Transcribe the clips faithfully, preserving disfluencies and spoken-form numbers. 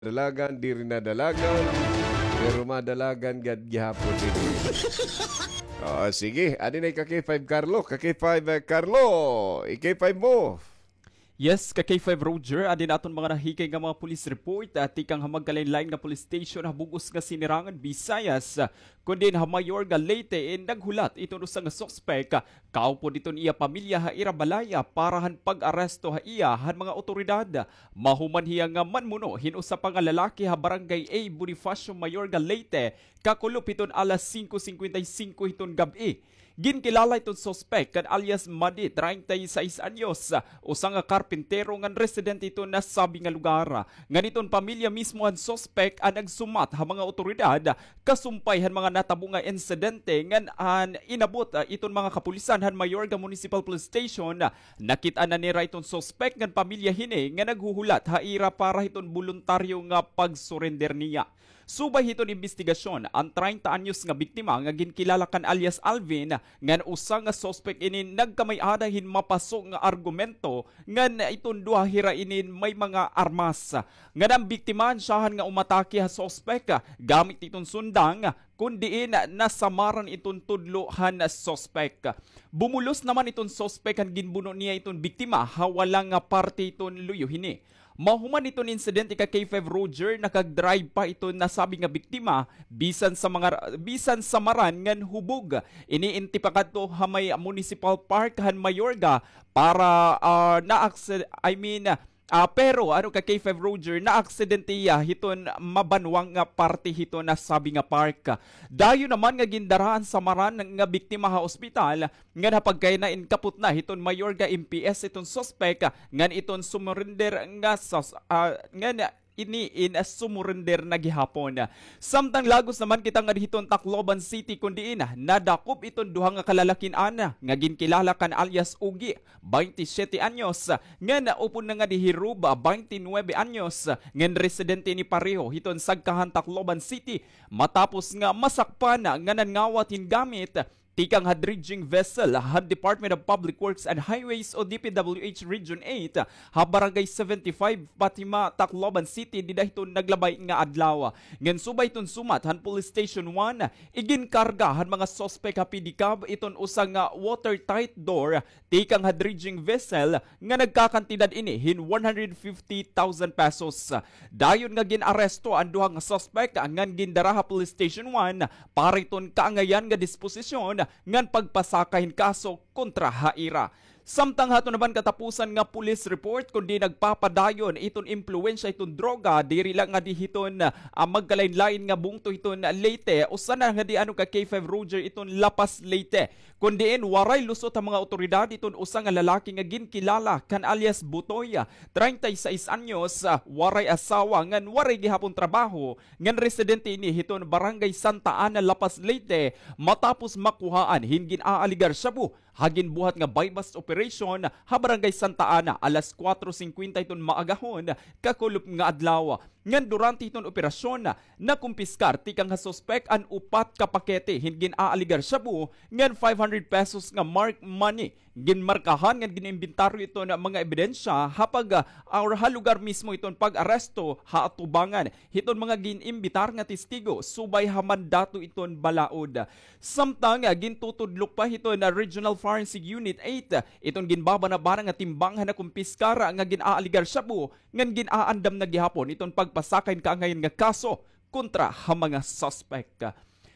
Dalagan, diri na dalagan, pero madalagan gad gihapon diri. Oo, sige. Adi na ka K five Carlo, ka K five, eh, Carlo. I-K five mo. Yes, ka K five Roger, adi na aton mga nahikay nga mga police report, ah, tikang ha magkalain-lain nga police station ha bug-os nga Sinirangan, Visayas, ah, kundi ha Mayorga, Leyte, eh, naghulat iton usa nga suspek, ah, kaupod iton iya pamilya ha ira balay, ah, para han pag-aresto ha iya han mga awtoridad. Mahuman hiya nga manmuno hin usa pa nga lalaki ha Barangay A Bonifacio, Mayorga, Leyte, kakulop hiton alas singko singkwenta y singko hiton gab-i. Ginkilala iton suspek kan alias Madi, treinta y seis anyos, usa nga karpintero ngan residente hiton nasabi nga lugar. Ngan iton pamilya mismo han suspek an nagsumat ha mga awtoridad kasumpay han mga natabo nga insidente ngan an inabot, ah, iton mga kapulisan han Mayorga Municipal Police Station. Nakit-an na nira iton suspek ngan pamilya hini nga naghuhulat ha ira para hiton boluntaryo nga pag-surrender niya. Subay hiton imbestigasyon, an treinta anyos nga biktima nga ginkilala kan alias Alvin ngan usa nga suspek ini nagkamay-ada hin mapaso nga argumento ngan iton duha hira ini may mga armas. Ngan an biktima an syahan nga umatake ha suspek gamit iton sundang, kun diin nasamaran iton tudlo han suspek. Bumulos naman iton suspek han ginbuno niya iton biktima ha wala nga parte iton luyo hini. Mahuman iton insidente ka K five Roger, nakag-drive pa iton nasabi nga biktima bisan sa mga, bisan samaran ngan hubog. Iniinti pa kadto ha may Municipal Park han Mayorga para, ah, na-aksid-, I mean, ah, pero ano ka K five Roger, naaksidente hiya hiton mabanwang nga parte hiton nasabi nga park. Dayon naman nga gindara an samaran nga biktima ha ospital, ngan ha pagkainain kapot na hiton Mayorga M P S iton suspek, ngan iton sumurrender nga sus-, ah, ngan ini in sumurrender na gihapon. Samtang lagos naman kita ngadi hiton Tacloban City, kun diin nadakop iton duha nga kalalakin-an nga ginkilala kan alias Ugi, baynte siyete anyos, ngan upod na ngadi hi Ruba, baynte nuwebe anyos, ngan residente ini pareho hiton Sagkahan, Tacloban City, matapos nga masakpan nga nanngawat hin gamit tikang ha dredging vessel han Department of Public Works and Highways o D P W H Region eight ha Barangay seventy-five, Fatima, Tacloban City, dida hiton naglabay nga adlaw. Ngan subay hiton sumat han Police Station one, iginkarga han mga suspek ha pedicab iton usa nga watertight door tikang ha dredging vessel nga nagkakantidad ini hin one hundred fifty thousand pesos. Dayon nga gin-aresto an duha nga suspek ngan gindara ha Police Station one para hiton kaangayan nga disposisyon ngan pagpasaka hin kaso kontra ha ira. Samtang ha aton naman katapusan nga police report, kundi nagpapadayon iton impluwensya iton droga, diri la ngadi hiton, ah, magkalain-lain nga bungto hiton Leyte, usa na ngadi ano ka K five Roger iton La Paz, Leyte. Kun diin waray lusot ha mga awtoridad iton usa nga lalaki nga ginkilala kan alias Butoy, treinta y seis anyos, ah, waray asawa ngan waray gihapon trabaho, ngan residente ini hiton Barangay Santa Ana, La Paz, Leyte, matapos makuhaan hin gin-aaligar shabu ha ginbuhat nga buy-bust operation ha Barangay Santa Ana alas kuwatro singkwenta hiton maagahon kakulop nga adlaw. Ngan durante hiton operasyon, nakumpiskar tikang ha suspek an upat ka pakete hin gin-aaligar shabu ngan five hundred pesos nga marked money. Ginmarkahan ngan gin-imbentaryo iton mga ebidensya ha pag, ah, or ha lugar mismo iton pag-aresto ha atubangan hiton mga gin-imbitar nga testigo subay ha mandato iton balaod. Samtang, ah, gintutudlok pa hiton, ah, Regional Forensic Unit eight, ah, iton ginbabanabana nga timbang han nakumpiskar nga gin-aaligar shabu ngan gin-aandam na gihapon iton pagpasaka hin kaangayan nga kaso kontra ha mga suspek.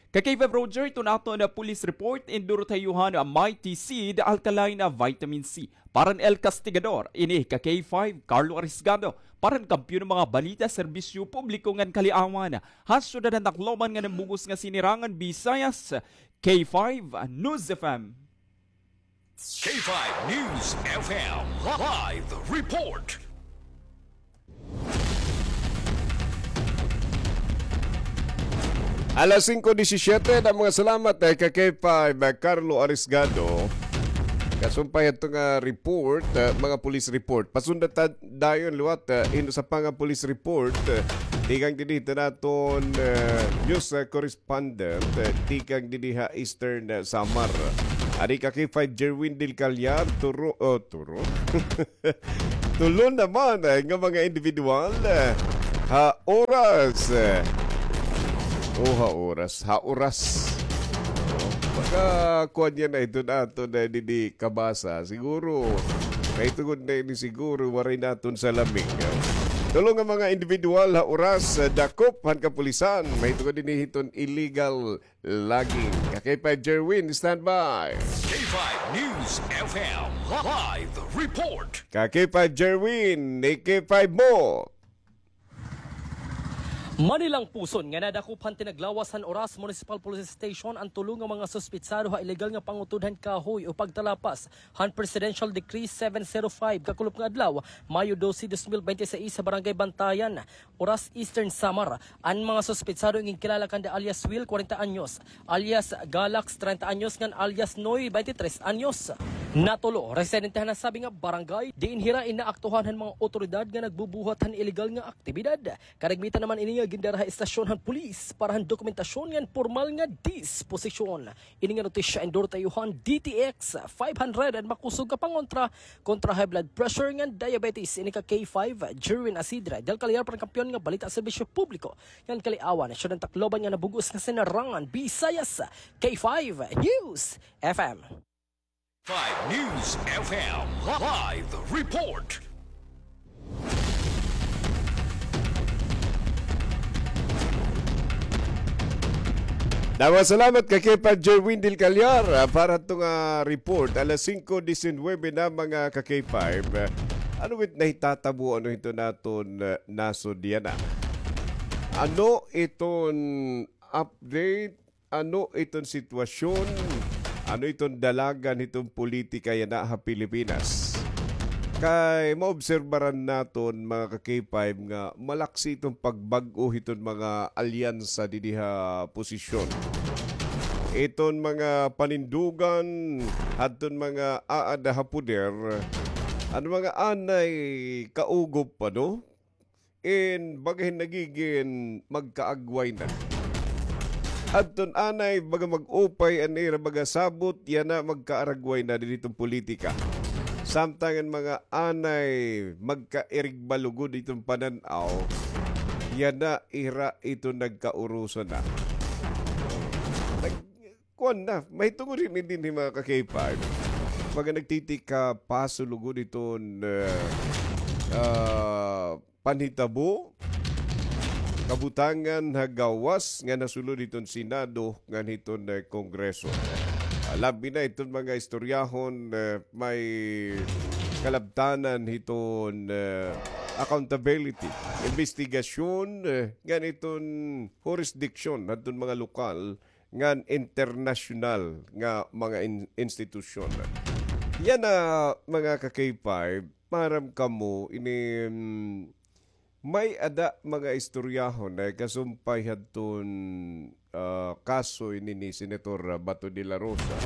Ka K five Roger, iton aton, ah, police report, indurot ha iyo han Mighty Seed Alkaline, ah, Vitamin C. Para han El Castigador, ini ka K five, Carlo Arisgado. Para han Kampiyon nga mga balita, serbisyo publiko ngan kaliawan, ha syudad han Tacloban ngan han bug-os nga Sinirangan, Visayas, K five News F M. K five News F M live report. Alas singko disisiete na, mga salamat, eh, ka K five, eh, Carlo Arisgado. Kasumpay adto nga report, eh, mga police report. Pasundan ta dayon liwat, eh, hin usa pa nga police report, eh, tikang didi hiton aton, eh, news, eh, correspondent, eh, tikang didi ha Eastern, eh, Samar. Adi ka K five Jerwin Del Callar, turo, oh, turo. Tulo naman, eh, nga mga individual, eh, Ha oras. O ha oras. Ha oras. Makakuan yana iton aton didi kabasa. Siguro, mahitungod na ini siguro, waray naton salami. Tulo nga mga individual ha oras, dakop han kapulisan. Mahitungod ini hiton illegal logging. Ka K five Jerwin, standby. K five News F M live report. Ka K five Jerwin, ni K five mo. Manilang puson nga nadakop han tinaglawas han Oras Municipal Police Station an tulo nga mga suspitsado ha ilegal nga pangutod han kahoy o pagtalapas han Presidential Decree seven zero five kakulop nga adlaw, Mayo doce, dos mil bente seis, sa Barangay Bantayan, Oras, Eastern Samar. An mga suspitsado inkilala kanda alias Will, kwarenta anyos, alias Galax, treinta anyos, ngan alias Noy, twenty-three anyos. Natulo, residente han nasabi nga barangay, diin hira inaaktuhan han mga otoridad nga nagbubuhat han ilegal nga aktibidad. Kadagmitan naman ini nga gindara ha estasyon han pulis para han dokumentasyon ngan pormal nga disposisyon. Ini nga notisya endorse ha iyo han D T X five hundred, an makusog nga pangontra kontra high blood pressure ngan diabetes. Ini ka K five, Jerwin Asidre, Del Callar, para kampiyon nga balita, serbisyo publiko ngan kaliawan, Siyudad han Tacloban nga nabug-os nga sinarangan, Visayas, K five News F M. Five News F M live report. Damo nga salamat ka K five Jerwin Del Callar, ah, para hito nga report. Alas singko disinuybe na, mga ka K five. Ah, ano it nahitatabo, ano hito naton, ah, nasod yana? Ano iton update? Ano iton sitwasyon? Ano iton dalagan hiton politika yana ha Pilipinas? Kay maobserbaran naton, mga ka K five, nga malaksi iton pagbag-o hiton mga alyansa didi ha posisyon. Iton mga panindugan hadton mga aada ha poder, an mga anay kaugop pa, no? In baga hin nagigin magkaagway na. Adton anay baga mag-upay an ira baga sabot, yana magkaaragway na didi hiton politika. Samtang an mga anay magkairigba lugod hiton panan-aw, yana ira iton nagkaurusan na. Nag-, kuan na, mahitungod hini dinhi, mga ka K five. Baga nagtitika-paso lugod hiton, ah, ah, panhitabo, kabutangan ha gawas nga nasulod hiton Senado ngan hiton, eh, Kongreso. Ah, labi na hiton mga istoryahon, eh, may kalabtanan hiton, eh, accountability, imbestigasyon, eh, ngan hiton jurisdiction hadton mga lokal ngan internasyonal nga mga in-, institusyon. Yana, mga ka K five, maaram kamo ini, mm, may-ada mga istoryahon nga kasumpay hadton, ah, kaso ini ni Senator Bato de la Rosa.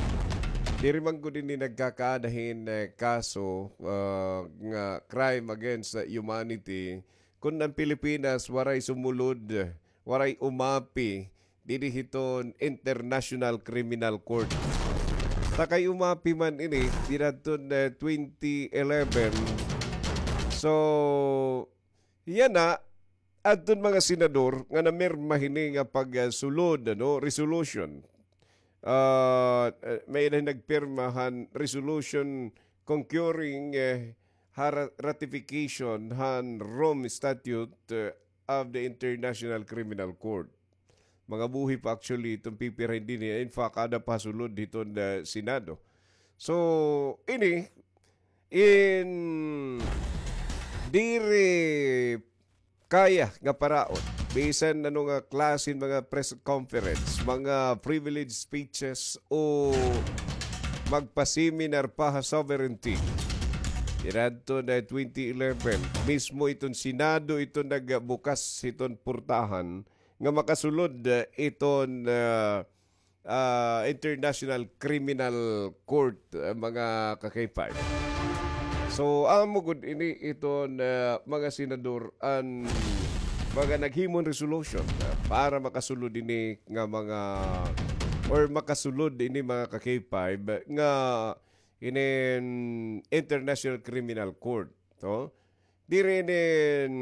Diri man gud ini nagkakaada hin, eh, kaso, ah, nga crime against humanity, kun an Pilipinas waray sumulod, waray umapi didi hiton International Criminal Court. Ta kay umapi man ini dida hiton, eh, twenty eleven. So, yana, adton mga senador nga namirma hini nga pagsulod, ano, resolution. Ah, eh, may-ada hin nagpirma han resolution concurring, eh, ha ra-, ratification han Rome Statute, eh, of the International Criminal Court. Mga buhi pa actually iton pipirmahan dinhi. In fact, aada pa sulod hiton, ah, Senado. So, ini, in, diri kaya nga paraon bisan ano nga klase hin mga press conference, mga privilege speeches o magpa-seminar pa ha sovereignty. Dida hiton twenty eleven, mismo iton Senado iton nagbukas hiton portahan nga makasulod, eh, iton, ah, ah, International Criminal Court, ah, mga ka-K five. So, amo gud ini iton, ah, mga senador an mga naghimo hin resolution, ah, para makasulod ini nga mga, or makasulod ini, mga ka-K five, nga inin International Criminal Court, no? Diri inin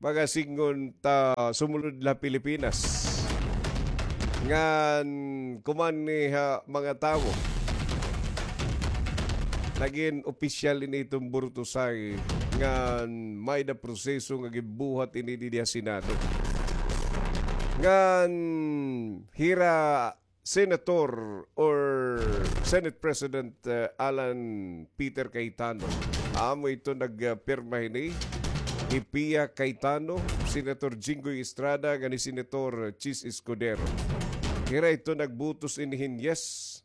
pagasingon ta sumulod la Pilipinas. Ngan kuman ni ha mga tawo. Nagin opisyal ini iton Burutosay ngan may-da proseso nga ginbuhat ini didi ha Senado. Ngan hira Senator or Senate President, uh, Alan Peter Cayetano. Amo ito nagpirma hini. Hi Pia Cayetano, Senator Jinggoy Estrada, ngan hi Senator Chiz Escudero. Hira ito nagbutos ini hin yes.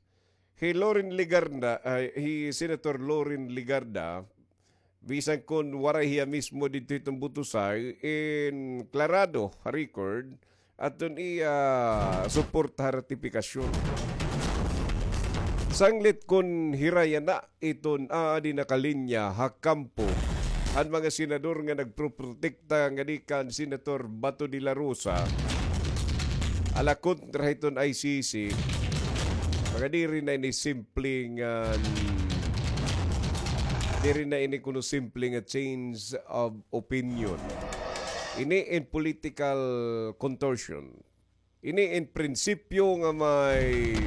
Hi Loren Legarda, ay, hi Senator Loren Legarda, bisan kon waray hiya mismo didto hiton Burutosay, in klarado ha record, aton iya suporta ha ratipikasyon. Sanglit kon hira yana iton aadi nakalinya ha kampo han mga senador nga nagproprotekta ngadi kan Senator Bato de la Rosa, ala kontra hiton I C C, mga diri na ini simple nga, diri na ini kuno simple nga change of opinion. Ini in political contortion. Ini in prinsipyo nga may,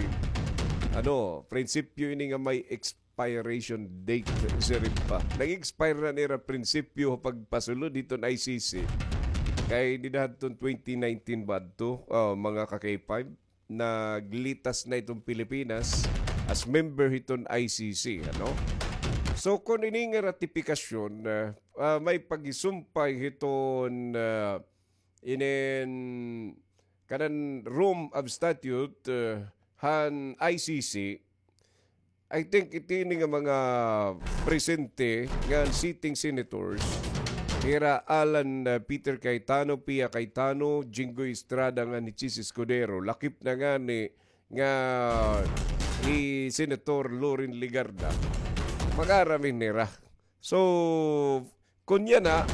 ano, prinsipyo ini nga may expiration date, siring pa. Nag-expire na nira prinsipyo pagpasulod hiton I C C. Kay dida hadton twenty nineteen ba adto, ah, mga ka-K five, naglitas na iton Pilipinas as member hiton I C C, ano? So, kon ini nga ratipikasyon, ah, ah, may pagisumpay hiton, ah, inin kanan Rome of Statute, ah, han I C C, I think ito ini nga mga presente nga sitting senators, hira Alan, ah, Peter Cayetano, Pia Cayetano, Jinggoy Estrada ngan hi Chiz Escudero, lakip na ngani nga hi Senator Loren Legarda, mag-aram ini hira. So, kon yana,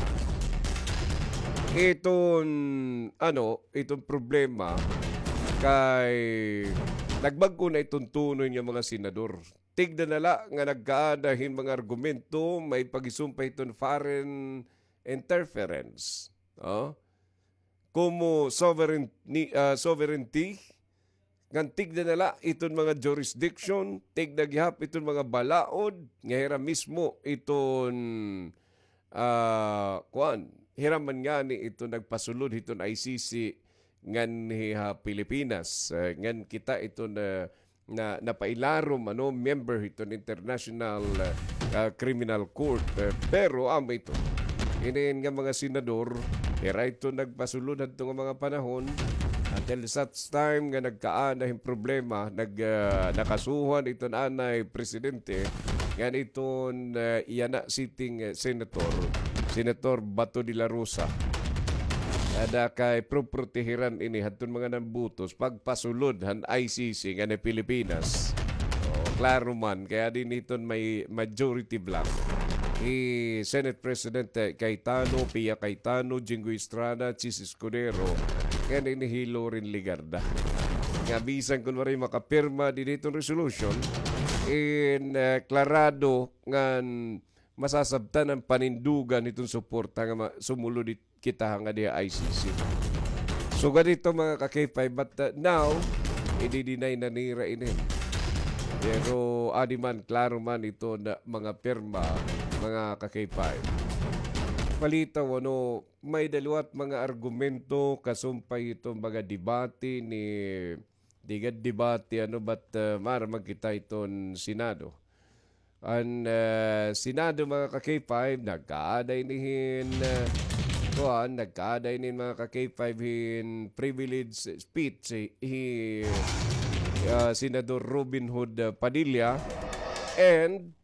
iton, ano, iton problema kay nagbag-o na iton tono nga mga senador. Tigda na la nga nagkaada hin mga argumento, may pagisumpay hiton foreign interference. Oh? Komo sovereign-, ni-, ah, sovereignty, ngan tigda na la iton mga jurisdiction, tigda gihap iton mga balaod, nga hira mismo iton, ah, kuan, hira man ngani iton nagpasulod hiton I C C nganhi ha Pilipinas, eh, ngan kita iton, eh, na napailarom, ano, member hiton International, ah, Criminal Court. Eh, pero amo ito. Inin nga mga senador, hira ito nagpasulod hadto nga mga panahon, until such time nga nagkaada hin problema, nag, ah, nakasuhan iton anay presidente, ngan iton, ah, yana sitting, eh, senator, Senator Bato de la Rosa. Ada kay proprotehiran ini hadton mga nambutos pagpasulod han I C C nganhi Pilipinas. Oh, klaro man, kay adi niton may majority bloc. Hi Senate President, eh, Cayetano, Pia Cayetano, Jinggoy Estrada, Chiz Escudero, ngan ini hi Loren Legarda. Nga bisan kun waray makapirma didi hiton resolution, in, eh, klarado ngan masasabtan an panindugan hiton suporta nga ma-, sumulod it-, kita ha ngadi ha I C C. So, ganito, mga ka-K five, but, uh, now, idi-deny na nira ini. Pero adi man, klaro man iton mga pirma, mga ka-K five. Palitaw, ano, may-da liwat mga argumento kasumpay hiton mga debate ni, di gad debate, ano, but, uh, maaram man kita hiton Senado. An, ah, Senado, mga ka-K five, nagkaada ini hin, ah, kuan, nagkaada ini hin, mga ka-K five, hin privilege speech hi, hi, ah, Senador Robin Hood, ah, Padilla. And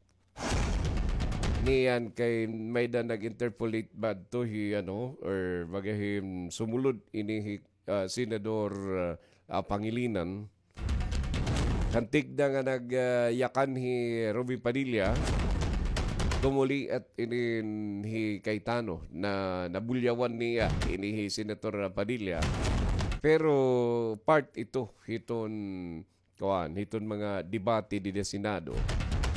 niyan kay may-da nag-interpolate ba adto hi, ano, or baga hin sumulod ini hi, ah, Senador, ah, Pangilinan. Kantik da nga nag, ah, yakan hi Robin Padilla, kumuliat ini hi Cayetano na nabulyawan niya ini hi Senator Padilla. Pero part ito hiton, kuan, hiton mga debate dida Senado.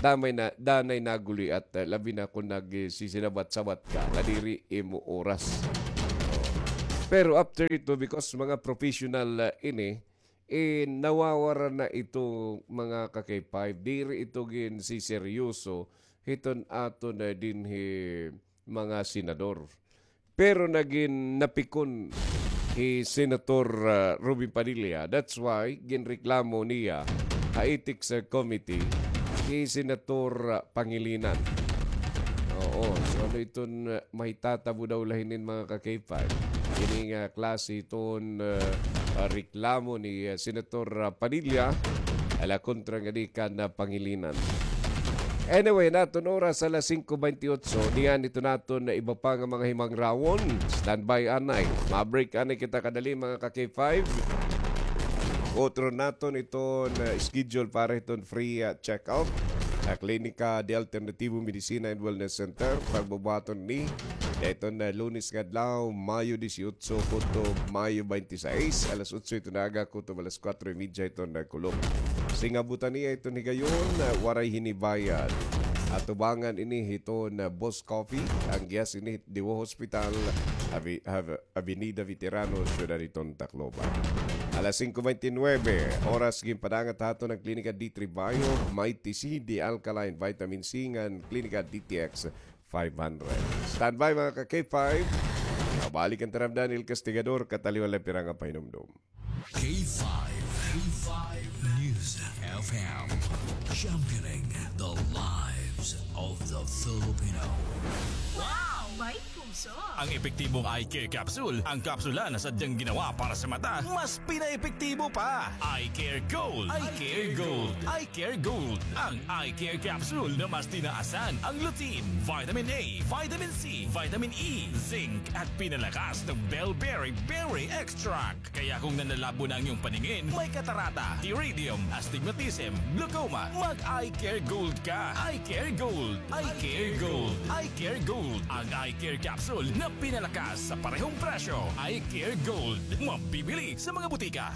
Danay na, danay naguliat, ah, labi na kon nagsisinawat-sawat ka, nga diri imo oras. Pero after ito, because mga professional, ah, ini, eh, nawawara na ito, mga ka-K five. Diri ito ginsiseryoso hiton aton, ah, dinhi mga senador. Pero nagin napikon hi Senator, ah, Robin Padilla. That's why ginreklamo niya ha Ethics, ah, Committee hi Senator, ah, Pangilinan. Oo. So, ano iton, ah, mahitatabo daw la hinin, mga ka-K five? Ini nga klase iton, ah, ah, reklamo ni, ah, Senator, ah, Padilla, ala kontra ngadi kan, ah, Pangilinan. Anyway, an aton oras alas singko bentiocho, niyan ito naton iba pa nga mga himangrawon. Standby anay. Ma-break anay kita kadali, mga ka-K five. Utro naton iton, ah, schedule para iton free, ah, check-up. Ah, Klinika de Alternativo Medicina and Wellness Center, pagbubuhaton ini iton, ah, Lunes nga adlaw, Mayo dieciocho kutob Mayo veintiséis, alas otso iton aga kutob alas kuwatro y media iton, ah, kulop. Singabutan niya iton higayon, ah, waray hini bayad. Atubangan ini hiton, ah, Boss Coffee, an gihas ini hit Diwa Hospital, Avi-, Av-, Avenida Veterano, Syudad hiton Tacloban. Alas singko bentinuwebe, oras ginpadangat ha aton an Klinika D three Bio, Mighty C, D Alkaline Vitamin C, ngan Klinika D T X five hundred. Standby, mga ka-K five. Mabalik an taramdan, El Castigador, kataliwan la pira nga pahinumdom. K five, K five News F M, championing the lives of the Filipino. Wow! May puso! Ang epektibong eye care capsule, ang kapsula na sadyang ginawa para sa mata, mas pinaepektibo pa. Eye Care Gold. Eye Care Gold. Eye Care Gold. Ang Eye Care Capsule na mas tinaasan ang lutein, vitamin A, vitamin C, vitamin E, zinc, at pinalakas ng bell berry berry extract. Kaya kung nanlalabo na ang iyong paningin, may katarata, pterygium, astigmatism, glaucoma, mag-Eye Care Gold ka. Eye Care Gold. Eye Care Gold. Eye Care Gold. Ang Eye Care Capsule na pinalakas sa parehong presyo. Eye Care Gold. Mabibili sa mga butika.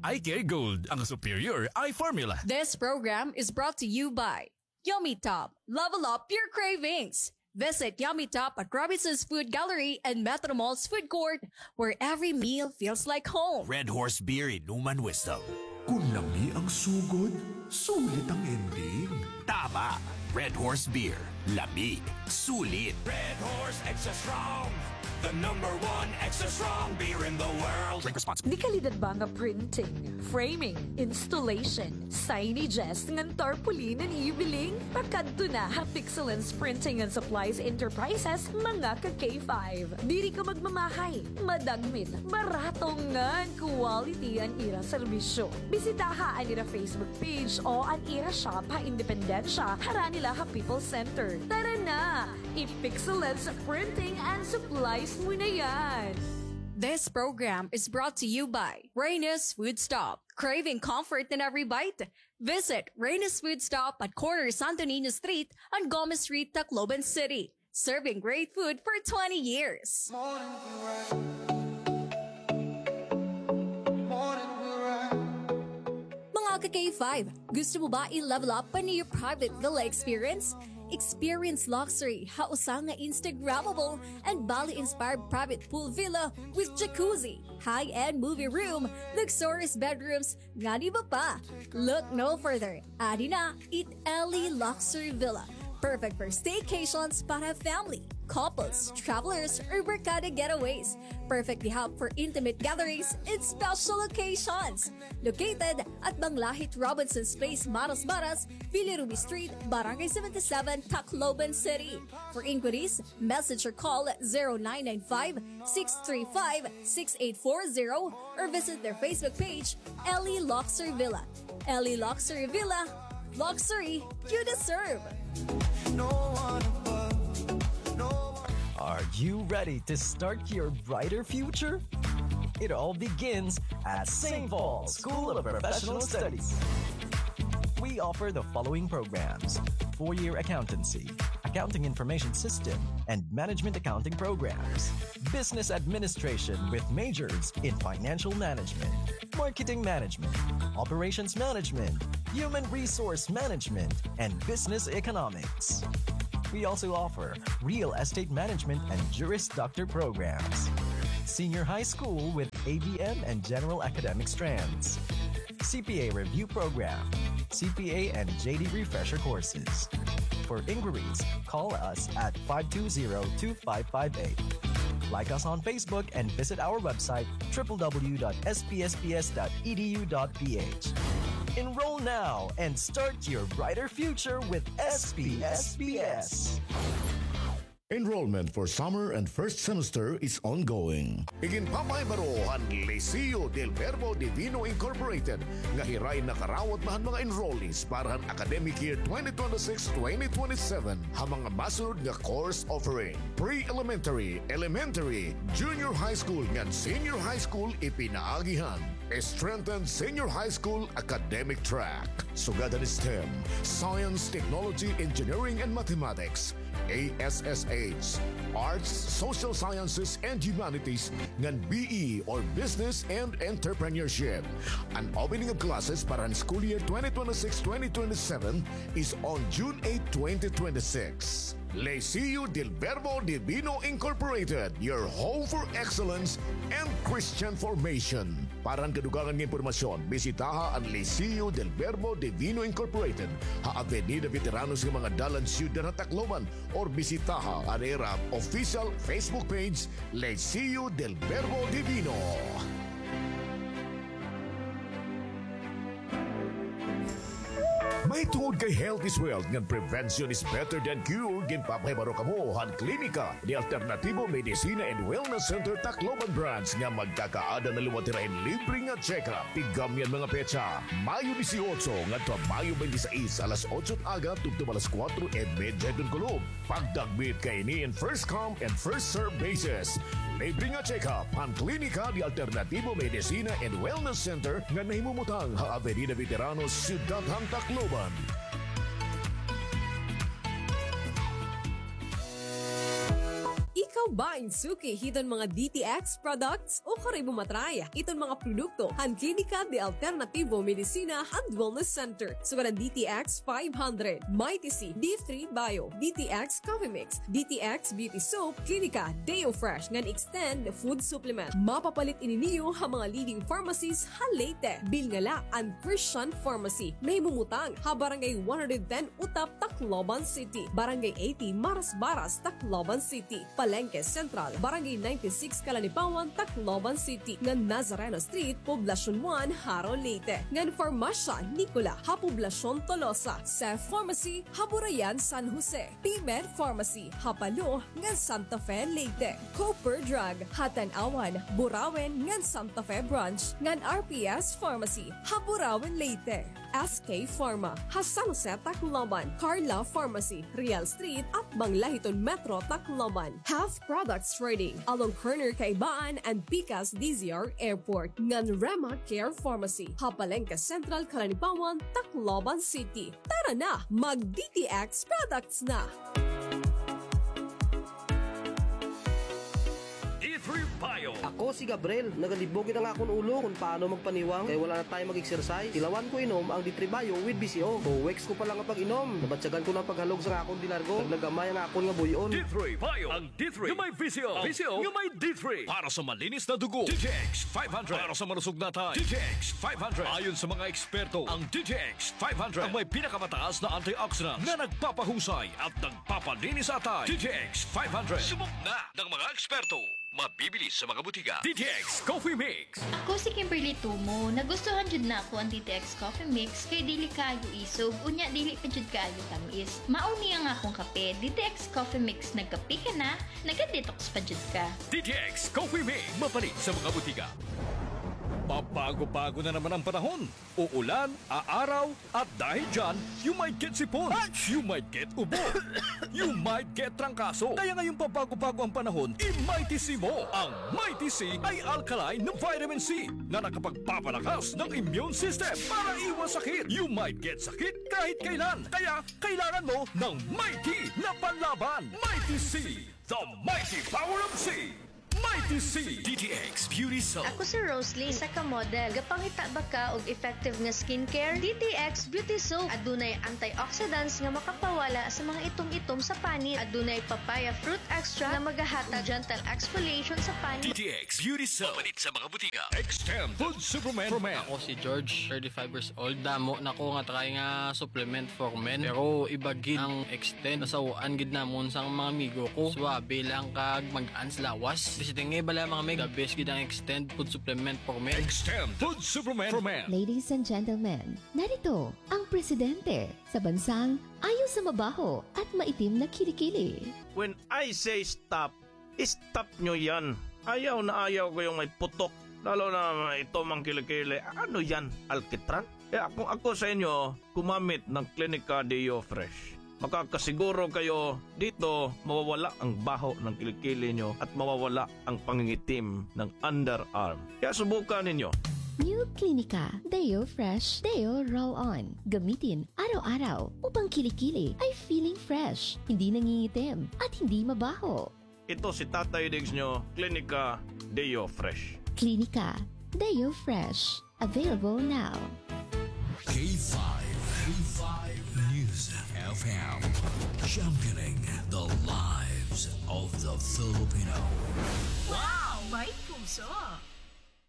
Eye Care Gold, ang superior eye formula. This program is brought to you by Yummy Top. Level up your cravings. Visit Yummy Top at Robinson's Food Gallery and Metro Mall's food court, where every meal feels like home. Red Horse Beer, inuman wisdom. Kun lami ang sugod, sulit ang ending. Tama! Red Horse Beer. Lami. Sulit. Red Horse Extra Strong. The number one extra strong beer in the world. Drink responsibly. De-kalidad ba nga printing, framing, installation, signages, ngan tarpaulin an ibiling? Pakadto na ha Pixelens Printing and Supplies Enterprises, mga ka-K five. Diri ka magmamahay, madagmit, barato ngan quality an ira serbisyo. Bisitaha an ira Facebook page o an ira shop ha Independencia, harani la ha People's Center. Tara na! I-Pixelens Printing and Supplies mo na yan! This program is brought to you by Reyna's Food Stop. Craving comfort in every bite? Visit Reyna's Food Stop at corner Santo Niño Street and Gomez Street, Tacloban City. Serving great food for twenty years. Mga ka-K five, gusto mo ba i-level up an iyo private villa experience? Experience luxury ha usa nga Instagrammable and Bali-inspired private pool villa with jacuzzi, high-end movie room, luxurious bedrooms, ngan iba pa. Look no further. Adi na it Ellie Luxury Villa. Perfect for staycations para family, couples, travelers, or barkada getaways. Perfect di hap for intimate gatherings and special occasions. Located at Banglahit Robinson's Place, Maras Maras, Villa Ruby Street, Barangay seventy-seven, Tacloban City. For inquiries, message or call zero nine nine five, six three five, six eight four zero or visit their Facebook page, Ellie Luxury Villa. Ellie Luxury Villa, luxury you deserve. Are you ready to start your brighter future? It all begins at Saint Paul School of Professional Studies. We offer the following programs: four-year accountancy, accounting information system, and management accounting programs, business administration with majors in financial management, marketing management, operations management, human resource management, and business economics. We also offer real estate management and Juris Doctor programs. Senior High School with A B M and General Academic strands. C P A Review Program, C P A and J D Refresher courses. For inquiries, call us at five two zero two five five eight. Like us on Facebook and visit our website, triple W dot S P S P S dot E D U dot P H. Enroll now and start your brighter future with S P S P S. Enrollment for summer and first semester is ongoing. Iginpapahibaro han Liceo del Verbo Divino Incorporated nga hira in nakarawat na han mga enrollees para han academic year twenty twenty-six, twenty twenty-seven ha mga masunod nga course offering: pre-elementary, elementary, junior high school ngan senior high school ipinaagi han strengthened senior high school academic track. Sugad han STEM, Science, Technology, Engineering, and Mathematics, A S S H, Arts, Social Sciences, and Humanities, ngan B E or Business and Entrepreneurship. An opening of classes para han school year twenty twenty-six, twenty twenty-seven is on June eight, twenty twenty-six. Liceo del Verbo Divino Incorporated, your home for excellence and Christian formation. Para han kadugangan nga impormasyon, bisitaha an Liceo del Verbo Divino Incorporated ha Avenida Veteranos nga mga dalan, Syudad han Tacloban, or bisitaha an ira official Facebook page, Liceo del Verbo Divino. Mahitungod kay health is wealth ngan prevention is better than cure, ginpapahibaro kamo han Klinika de Alternativo Medicina and Wellness Center Tacloban Branch nga magkakaada na liwat hira hin libre nga check-up. Tigam niyan mga petsa, Mayo dieciocho ngadto ha Mayo twenty-six, alas otso han aga tubtob alas kuwatro y medya hiton kulop. Pagdagmit kaini in first come and first serve basis. Libre nga check-up han Klinika de Alternativo Medicina and Wellness Center nga nahimumutang ha Avenida Veteranos, Syudad han Tacloban. Ikaw ba in suki hiton mga D T X products? O kari mo ma-try iton mga produkto han Klinika de Alternativo Medicina and Wellness Center, sugad han D T X five hundred, Mighty C, D three Bio, D T X Coffee Mix, D T X Beauty Soap, Klinika Deo Fresh ngan Extend Food Supplement. Mapapalit ini niyo ha mga leading pharmacies ha Leyte. Bilngala an Christian Pharmacy, nahimumutang ha Barangay one hundred ten Utap, Tacloban City, Barangay eighty Marasbaras, Tacloban City, Palengke Central, Barangay ninety-six Calanipawan, Tacloban City, ngan Nazareno Street, Poblacion one, Jaro, Leyte, ngan Farmasya Nicola ha Poblacion Tolosa, Seth Pharmacy ha Burayan, San Jose, P-Med Pharmacy ha Palo ngan Santa Fe, Leyte, Cooper Drug ha Tanauan, Burauen ngan Santa Fe Branch, ngan R P S Pharmacy ha Burauen, Leyte. S K Pharma ha San Jose, Tacloban, Carla Pharmacy, Real Street, atbang la hiton Metro Tacloban. Half Products Trading, along corner Kaibaan and pikas D Z R Airport, ngan Rema Care Pharmacy ha Palengke Central, Calanipawan, Tacloban City. Tara na, mag D T X products na! D three Bio. Ako si Gabriel. Nagalibog it ang akon ulo kon paano magpaniwang kay wala na tayo mag-exercise. Tilawan ko inom ang D three Bio with B C O. Two weeks ko pa lang nga pag-inom, nabatyagan ko na an paghalog sa akon dilargo. Nagnagamay ang akon nga buy-on. D three Bio. Ang D three nga may B C O. B C O nga may D three. Para sa malinis na dugo, D T X five hundred. Para sa malusog na atay, D T X five hundred. Ayon sa mga eksperto, ang D T X five hundred ang may pinakamataas na antioxidants na nagpapahusay at nagpapalinis sa atay. D T X five hundred. Subok na ng mga eksperto. Mabibili sa mga butika. D T X Coffee Mix. Ako si Kimberly Tumo. Nagustuhan jud nako ang D T X Coffee Mix kay dili kaayo isog, unya dili pa jud kaayo tamis. Mao ni ang akong kape, D T X Coffee Mix. Nagkape ka na, naga-detox pa jud ka. D T X Coffee Mix, mapalit sa mga butika. Pabago-bago na naman ang panahon. Uulan, aaraw, at dahil dyan, you might get sipon, you might get ubo, you might get trangkaso. Kaya ngayong pabago-bago ang panahon, i-Mighty C mo. Ang Mighty C ay alkaline na vitamin C na nakapagpapalakas ng immune system para iwas sakit. You might get sakit kahit kailan. Kaya kailangan mo ng Mighty na panlaban. Mighty C, the mighty power of C. Mighty C D T X Beauty Soap. Ako si Roslyn, isa ka model. Gapangita ba ka og effective nga skincare? D T X Beauty Soap. Adunay antioxidants nga makapawala sa mga itom-itom sa panit. Adunay papaya fruit extract nga magahatag gentle exfoliation sa panit. D T X Beauty Soap. Mapalit sa mga butika. Extend Food Supplement for Men. Ako si George, thirty-five years old. Damo na ko nga try nga supplement for men. Pero iba gid ang Extend. Nasaw-an gid namon sang mga amigo ko. Suwabe lang kag mag-ans lawas. Bisiting nga bala, mga mig. The best gid ang Extend Food Supplement for Men. Extend Food Supplement for Men. Ladies and gentlemen, narito ang presidente sa bansang ayaw sa mabaho at maitim na kilikili. When I say stop, stop nyo yan. Ayaw na ayaw ko yung may putok. Lalo na may itom ang kilikili. Ano yan? Alkitran? Kaya kung ako sa inyo, gumamit ng Clinica Deo Fresh. Makakasiguro kayo dito, mawawala ang baho ng kilikili nyo at mawawala ang pangingitim ng underarm. Kaya subukan ninyo. New Clinica Deo Fresh Deo Roll-On. Gamitin araw-araw upang kilikili ay feeling fresh, hindi nangingitim, at hindi mabaho. Ito si Tatay Diggs nyo, Clinica Deo Fresh. Clinica Deo Fresh. Available now. K five, K five News F M, championing the lives of the Filipino. Wow! May puso!